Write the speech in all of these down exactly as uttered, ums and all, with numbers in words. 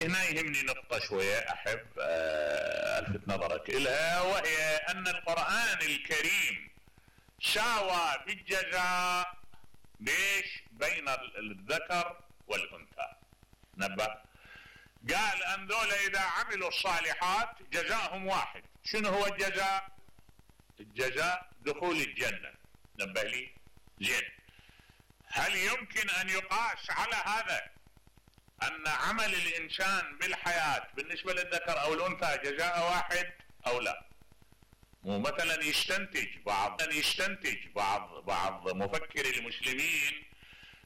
هنا يهمني نقطة شوية أحب ألفت نظرك إلها، وهي أن القرآن الكريم ساوى بالجزاء ليش بين الذكر والأنثى. نبه قال أن ذولا إذا عملوا الصالحات جزاهم واحد. شنو هو الجزاء؟ الجزاء دخول الجنة. نبه لي زين، هل يمكن أن يقاس على هذا أن عمل الإنسان بالحياة بالنسبة للذكر أو الأنثى جزاء واحد أو لا؟ مو مثلا يستنتج بعض يستنتج بعض بعض مفكري المسلمين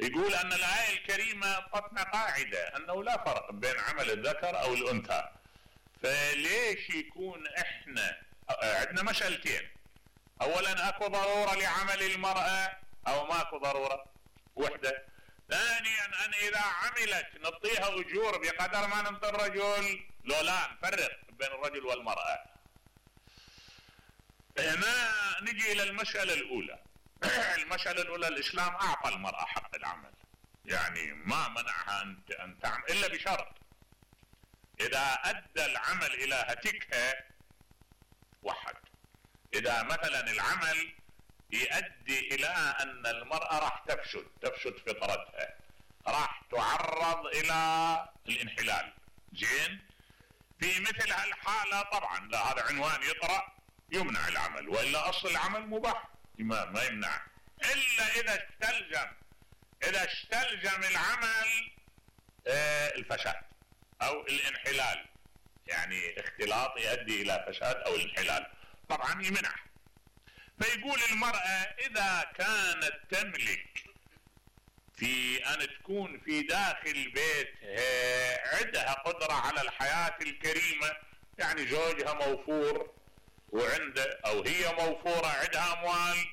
يقول أن الآية الكريمة تطلع قاعدة أنه لا فرق بين عمل الذكر أو الأنثى، فليش يكون إحنا عندنا مسألتين؟ أولا أكو ضرورة لعمل المرأة أو ماكو ضرورة؟ وحدة. ثانيا أن إذا عملت نعطيها أجور بقدر ما نعطي الرجل، لو لا نفرق بين الرجل والمرأة. هنا نجي إلى المسألة الأولى. المسألة الأولى، الإسلام أعطى المرأة حق العمل، يعني ما منعها أن تعمل إلا بشرط، إذا أدى العمل إلى هتكها وحد. إذا مثلا العمل يؤدي إلى أن المرأة راح تفسد تفسد فطرتها، راح تعرض إلى الانحلال، زين، في مثل هالحالة طبعا لا، هذا عنوان يطرأ يمنع العمل، وإلا أصل العمل مباح ما, ما يمنع، إلا إذا استلزم إذا استلزم العمل آه الفساد أو الانحلال، يعني اختلاط يؤدي إلى فساد أو الانحلال، طبعا يمنع. فيقول المرأة إذا كانت تملك في أن تكون في داخل بيتها عندها قدرة على الحياة الكريمة، يعني زوجها موفور وعنده أو هي موفورة عندها أموال،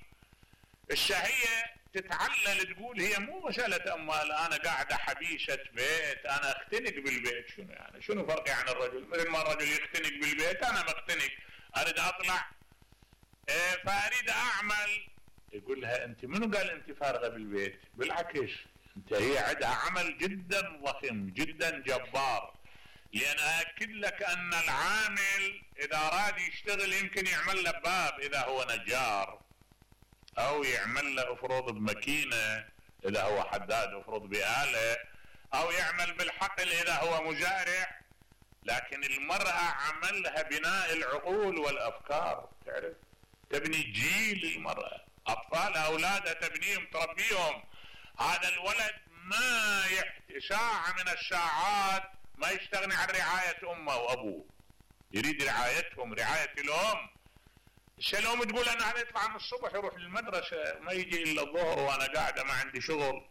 الشهية تتعلل تقول هي مو مسألة أموال، أنا قاعدة حبيشة بيت، أنا اختنق بالبيت. شنو يعني شنو فرقي عن الرجل؟ مثل ما الرجل يختنق بالبيت أنا مختنق، أريد أطلع إيه فأريد أعمل. يقول لها أنت منو قال أنت فارغة بالبيت؟ بالعكس أنت هي عندها عمل جدا ضخم جدا جبار، لأن أأكد لك أن العامل إذا أراد يشتغل يمكن يعمل له باب إذا هو نجار، أو يعمل له أفرض بماكينة إذا هو حداد أفرض بآلة، أو يعمل بالحقل إذا هو مزارع. لكن المرأة عملها بناء العقول والأفكار، تعرف تبني جيل المرأة، أطفالها أولادها تبنيهم تربيهم. هذا الولد ما يحت... ساعة من الساعات ما يستغني عن رعاية أمه وأبوه، يريد رعايتهم رعاية الأم. الشلوم تقول أنا هذا يطلع من الصبح يروح للمدرسة ما يجي إلا الظهر وأنا قاعدة ما عندي شغل.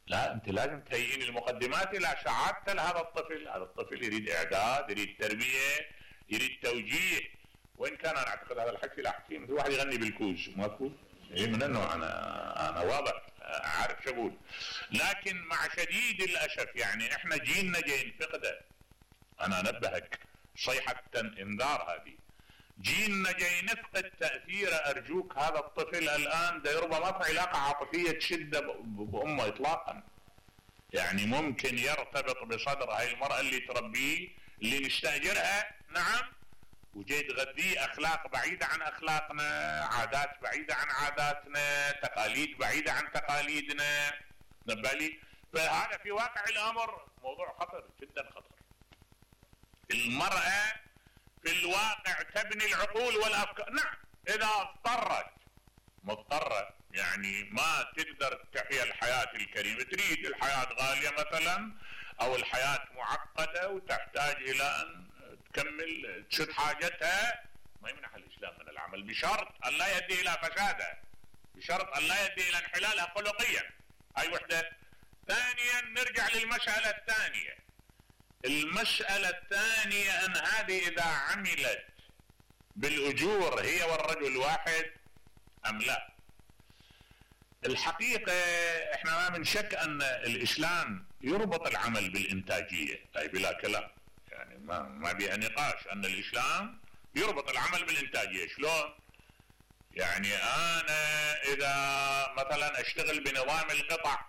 لا، أنت لازم تهيئين المقدمات إلى سعادة لهذا الطفل. هذا الطفل يريد إعداد، يريد تربية، يريد توجيه. وإن كان أنا أعتقد هذا الحكي لا أحكي مثل واحد يغني بالكوز ماكو إيه من أنه أنا أنا واضح عارف شو أقول. لكن مع شديد الأسف يعني إحنا جيلنا جاي نفقده. أنا أنبهك صيحة إنذار، هذه جيلنا جاي نفقد تأثيره. أرجوك هذا الطفل الآن ده ربما ما في علاقة عاطفية تشده بأمه إطلاقا، يعني ممكن يرتبط بصدر هاي المرأة اللي تربيه اللي نستأجرها، نعم، وجاي تغذيه أخلاق بعيدة عن أخلاقنا، عادات بعيدة عن عاداتنا، تقاليد بعيدة عن تقاليدنا. نبالي فهذا في واقع الأمر موضوع خطر جدا خطر. المرأة في الواقع تبني العقول والأفكار، نعم، إذا اضطرت مضطرة، يعني ما تقدر تحيا الحياة الكريمة، تريد الحياة غالية مثلا أو الحياة معقدة وتحتاج إلى أن تكمل تشد حاجتها، ما يمنح الإسلام من العمل بشرط أن لا يؤدي إلى فسادها، بشرط أن لا يؤدي إلى انحلالها خلقيا. هاي وحدة. ثانيا نرجع للمسألة الثانية. المسألة الثانية أن هذه إذا عملت بالأجور هي والرجل واحد أم لا. الحقيقة احنا ما من شك أن الإسلام يربط العمل بالإنتاجية، أي بلا كلام، يعني ما ما بيها نقاش أن الإسلام يربط العمل بالإنتاجية. شلون؟ يعني أنا إذا مثلا أشتغل بنظام القطع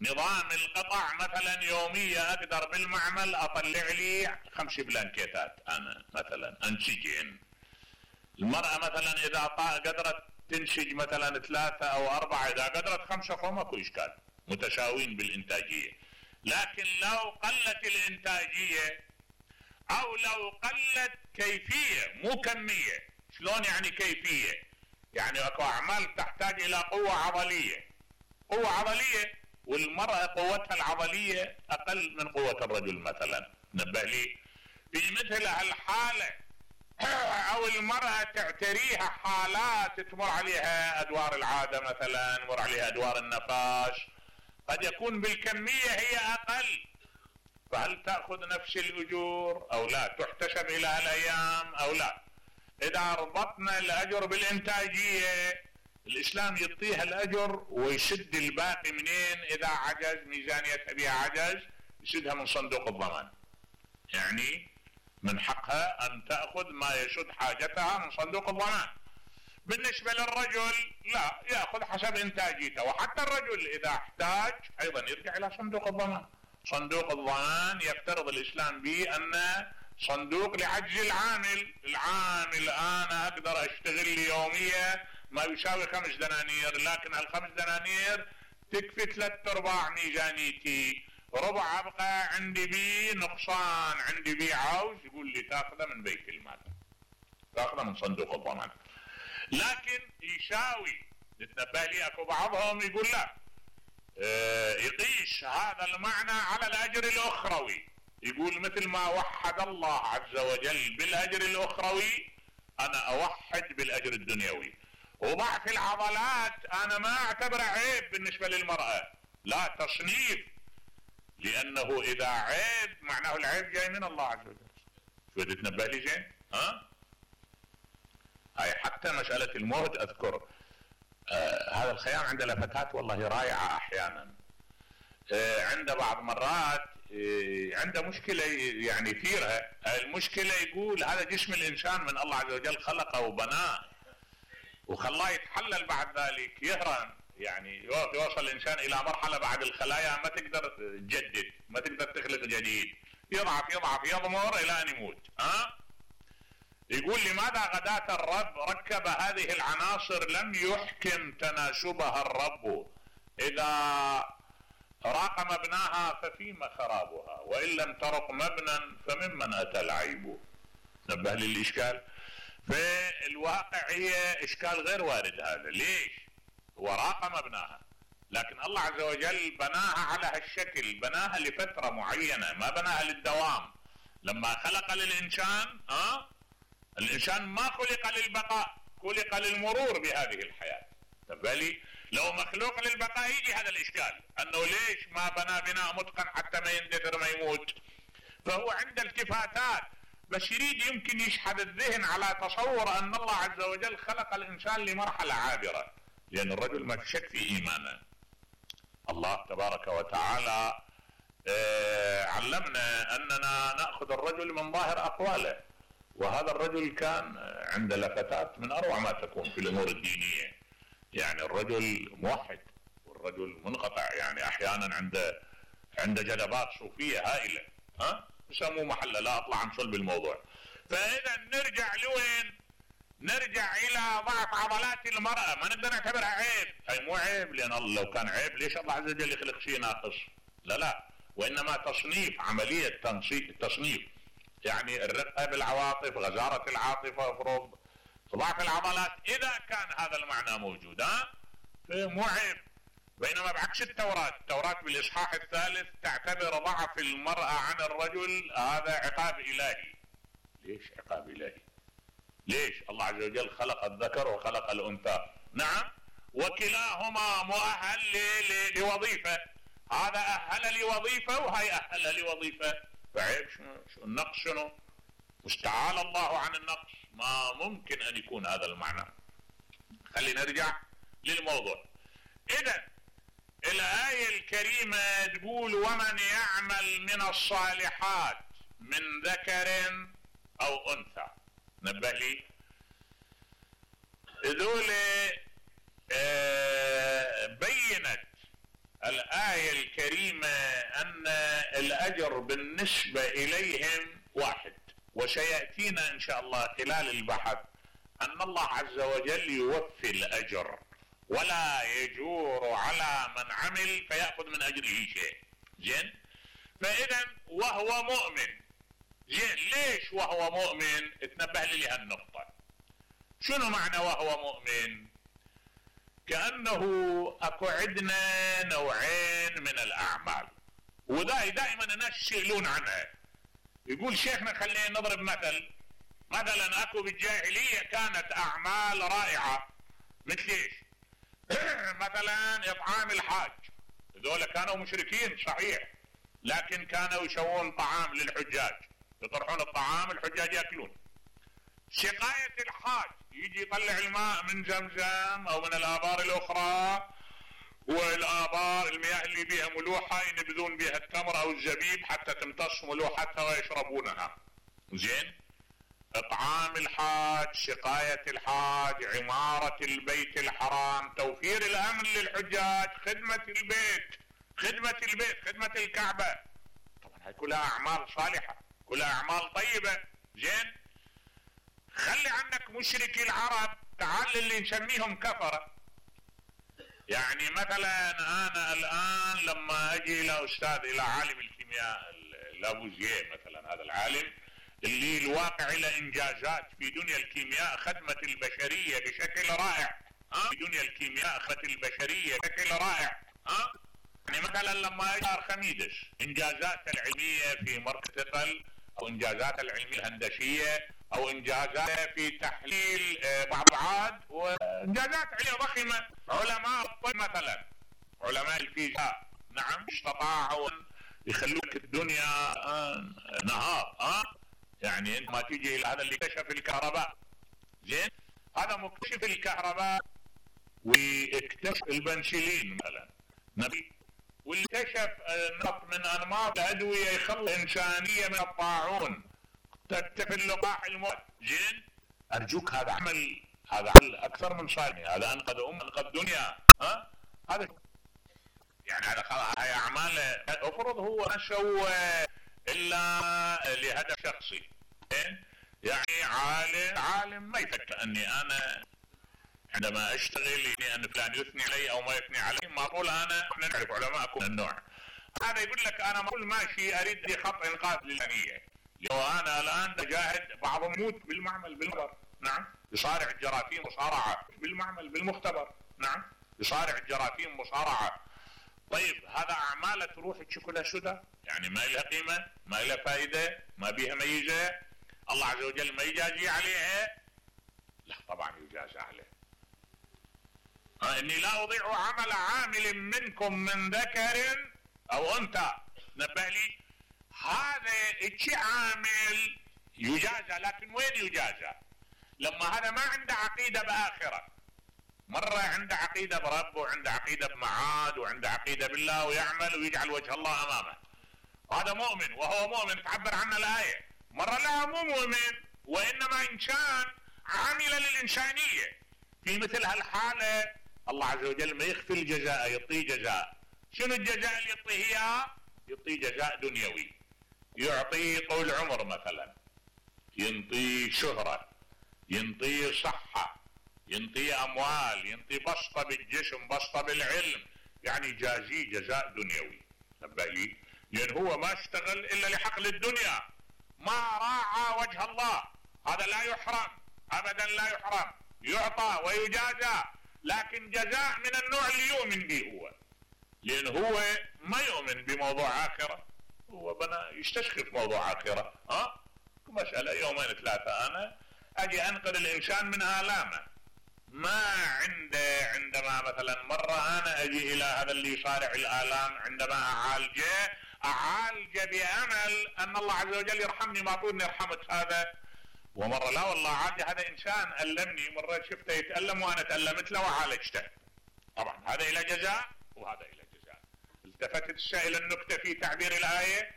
نظام القطع مثلا يومية اقدر بالمعمل اطلع لي خمس بلانكيتات انا مثلا انسجين. المرأة مثلا اذا قدرت تنسج مثلا ثلاثة او اربعة، اذا قدرت خمسة فما اكو اشكال، متساوين بالانتاجية. لكن لو قلت الانتاجية او لو قلت كيفية مو كمية. شلون يعني كيفية؟ يعني اكو اعمال تحتاج الى قوة عضلية، قوة عضلية، والمرأة قوتها العضلية اقل من قوة الرجل مثلا. نبه لي في مثل هالحالة او المرأة تعتريها حالات تمر عليها ادوار العادة مثلا، مر عليها ادوار النفاس، قد يكون بالكمية هي اقل، فهل تأخذ نفس الاجور او لا؟ تحتسب الى هالايام او لا؟ اذا ربطنا الاجر بالانتاجية الاسلام يعطيها الاجر ويسد الباقي منين؟ اذا عجز ميزانيتها بها عجز يسدها من صندوق الضمان. يعني من حقها ان تأخذ ما يسد حاجتها من صندوق الضمان. بالنسبة للرجل لا، يأخذ حسب انتاجيته، وحتى الرجل اذا احتاج ايضا يرجع الى صندوق الضمان. صندوق الضمان يفترض الاسلام به ان صندوق لعجز العامل. العامل انا اقدر اشتغل لي يومية ما يساوي خمس دنانير، لكن هالخمس دنانير تكفي ثلاث ارباع ميزانيتي، ربع ابقى عندي بي نقصان، عندي بي عوز، يقول لي تاخذه من بيت المال، تاخذه من صندوق الضمان. لكن يساوي نتنبه لي اكو بعضهم يقول لا، اه يقيس هذا المعنى على الاجر الاخروي، يقول مثل ما وحد الله عز وجل بالاجر الاخروي انا اوحد بالاجر الدنيوي. وضعف العضلات انا ما اعتبره عيب بالنسبة للمرأة، لا، تصنيف، لانه اذا عيب معناه العيب جاي من الله عز وجل. شو تتنبه لي زين؟ ها؟ هاي حتى مسألة الموت اذكر آه هذا الخيام عند لفتات والله رائعة احيانا. آه عنده بعض مرات آه عنده مشكلة يعني فيرها، المشكلة يقول هذا جسم الانسان من الله عز وجل خلقه وبناه وخلاه يتحلل، بعد ذلك يهرم، يعني يوصل الانسان الى مرحلة بعد الخلايا ما تقدر تجدد، ما تقدر تخلق جديد، يضعف يضعف يضمر الى ان يموت. ها؟ يقول لماذا غداة الرب ركب هذه العناصر لم يحكم تناسبها الرب؟ اذا راق مبناها ففيما خرابها، وان لم ترق مبنى فممن اتى العيب. نبه لي الاشكال. في الواقع هي اشكال غير وارد هذا. ليش؟ هو راق مبناها، لكن الله عز وجل بناها على هالشكل، بناها لفترة معينة، ما بناها للدوام. لما خلق للإنسان أه؟ الإنسان ما خلق للبقاء، خلق للمرور بهذه الحياة. فبالي لو مخلوق للبقاء يجي هذا الإشكال، أنه ليش ما بنى بناء متقن حتى ما يندثر ما يموت. فهو عنده التفاتات، بس يريد يمكن يشحذ الذهن على تصور أن الله عز وجل خلق الإنسان لمرحلة عابرة، لأن الرجل ما شك في إيمانه. الله تبارك وتعالى آه علمنا أننا نأخذ الرجل من ظاهر أقواله، وهذا الرجل كان عند لفتات من أروع ما تكون في الأمور الدينية. يعني الرجل موحد والرجل منقطع، يعني أحيانا عند عند جذبات صوفية هائلة، ها يسموه محله، لا أطلع عن صلب الموضوع. فإذا نرجع لوين؟ نرجع الى ضعف عضلات المرأة، ما نقدر نعتبرها عيب. اي مو عيب، لان الله لو كان عيب ليش الله عز وجل يخلق شيء ناقص؟ لا لا، وانما تصنيف، عملية تصنيف، يعني الرقة بالعواطف، غزارة العاطفة، افرض ضعف العضلات، اذا كان هذا المعنى موجود ها مو عيب. بينما بعكس التوراة، التوراة بالاصحاح الثالث تعتبر ضعف المرأة عن الرجل هذا عقاب الهي. ليش عقاب الهي؟ ليش؟ الله عز وجل خلق الذكر وخلق الأنثى، نعم، وكلاهما مؤهل لوظيفة، هذا أهل لوظيفة وهي أهل لوظيفة، فعيب شنو؟ النقص شنو؟ مستعال الله عن النقص، ما ممكن أن يكون هذا المعنى. خلينا نرجع للموضوع. إذن الآية الكريمة تقول ومن يعمل من الصالحات من ذكر أو أنثى. نبه لي ذول آه بينت الآية الكريمة أن الأجر بالنسبة إليهم واحد، وسيأتينا إن شاء الله خلال البحث أن الله عز وجل يوفي الأجر ولا يجور على من عمل فيأخذ من أجره شيء. زين، فإذا وهو مؤمن. زين، ليش وهو مؤمن؟ اتنبه لي لهالنقطة. شنو معنى وهو مؤمن؟ كأنه اكو عندنا نوعين من الأعمال، وذا دائما الناس يسألون عنها. يقول شيخنا خلينا نضرب مثل، مثلا اكو بالجاهلية كانت أعمال رائعة، مثل ايش؟ مثلا إطعام الحاج، هذول كانوا مشركين صحيح، لكن كانوا يسوون طعام للحجاج، يطرحون الطعام الحجاج يأكلون. سقاية الحاج، يجي يطلع الماء من زمزم او من الآبار الأخرى، والآبار المياه اللي بها ملوحة ينبذون بها التمر او الزبيب حتى تمتص ملوحتها ويشربونها. زين، إطعام الحاج، سقاية الحاج، عمارة البيت الحرام، توفير الأمن للحجاج، خدمة البيت، خدمة البيت، خدمة الكعبة. طبعا هاي كلها أعمال صالحة، كلها أعمال طيبة. زين، خلي عنك مشركي العرب، تعال اللي نسميهم كفرة. يعني مثلا أنا الآن لما أجي إلى أستاذ، إلى عالم الكيمياء لافوزيه مثلا، هذا العالم اللي الواقع له إنجازات في دنيا الكيمياء، خدمة البشرية بشكل رائع. أه؟ في دنيا الكيمياء خدمة البشرية بشكل رائع. أه؟ يعني مثلا لما أجي أرخميدس، إنجازات العلمية في مركز ثقل، أو إنجازات العلمية الهندسية، أو إنجازات في تحليل بعض الأبعاد، وإنجازات علمية ضخمة. علماء الطب مثلا، علماء الفيزياء، نعم، استطاعوا يخلوك الدنيا نهار. أه؟ يعني انت ما تيجي الى هذا اللي اكتشف الكهرباء. زين، هذا مكتشف الكهرباء واكتشف البنسلين مثلا نبي، واللي اكتشف نمط من انماط الادويه يخلص الانسانيه من الطاعون، تكتفي اللقاح الموت. زين، ارجوك هذا عمل، هذا عمل اكثر من صالح، هذا انقذ امه، انقذ دنيا. ها، هذا يعني هذا خلاص، هاي اعمال افرض هو ما سوى الا لهدف شخصي. يعني عالم عالم ما يفكر اني انا عندما اشتغل يعني ان فلان يثني علي او ما يثني علي، ما اقول انا، احنا نعرف علماء من النوع هذا يقول لك انا ما اقول ماشي اريد لي خط انقاذ للانيه، لو انا الان اجاهد بعضهم يموت بالمعمل بالمختبر. نعم، يصارع الجراثيم مصارعه بالمعمل بالمختبر. نعم، يصارع الجراثيم مصارعه. طيب هذا اعماله تروح تشوف لها سدى، يعني ما لها قيمه، ما لها فائده، ما بيها ميزه، الله عز وجل ما يجازي عليها؟ لا طبعا يجازي عليها. اني لا اضيع عمل عامل منكم من ذكر او انثى. نبه لي، هذا الشيء عامل يجازى، لكن وين يجازى؟ لما هذا ما عنده عقيده باخره، مرة عنده عقيدة برب، وعنده عقيدة بمعاد، وعنده عقيدة بالله، ويعمل ويجعل وجه الله أمامه، هذا مؤمن. وهو مؤمن تعبر عنه الآية. مرة لا، مو مؤمن، وإنما إنسان عامل للإنسانية. في مثل هالحالة الله عز وجل ما يخفي الجزاء، يعطيه جزاء. شنو الجزاء اللي يعطيه إياه؟ يعطيه جزاء دنيوي، يعطيه طول عمر مثلا، ينطيه شهرة، ينطيه صحة، ينطيه اموال، ينطيه بسطه بالجسم، بسطه بالعلم، يعني جازيه جزاء دنيوي. نبه لي، لان هو ما اشتغل الا لحقل الدنيا، ما راعى وجه الله. هذا لا يحرم ابدا، لا يحرم، يعطى ويجازى، لكن جزاء من النوع اللي يؤمن به هو، لان هو ما يؤمن بموضوع اخره، هو بنا يستشخص موضوع اخره. ها، مساله يومين ثلاثه انا اجي انقذ الانسان من الامه، ما عنده. عندما مثلا مرة انا اجي الى هذا اللي يصارع الالام، عندما اعالجه اعالجه بامل ان الله عز وجل يرحمني، ما اقول اني رحمت هذا. ومرة لا والله عادي، هذا انسان ألمني، مرة شفته يتألم وانا تألمت له وعالجته. طبعا هذا الى جزاء وهذا الى جزاء. التفتت السائل النكتة في تعبير الآية: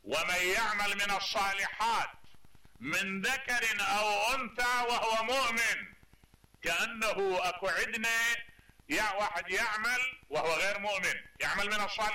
ومن يعمل من الصالحات من ذكر او انثى وهو مؤمن. كأنه اكو عندنا يا واحد يعمل وهو غير مؤمن، يعمل من الصالحات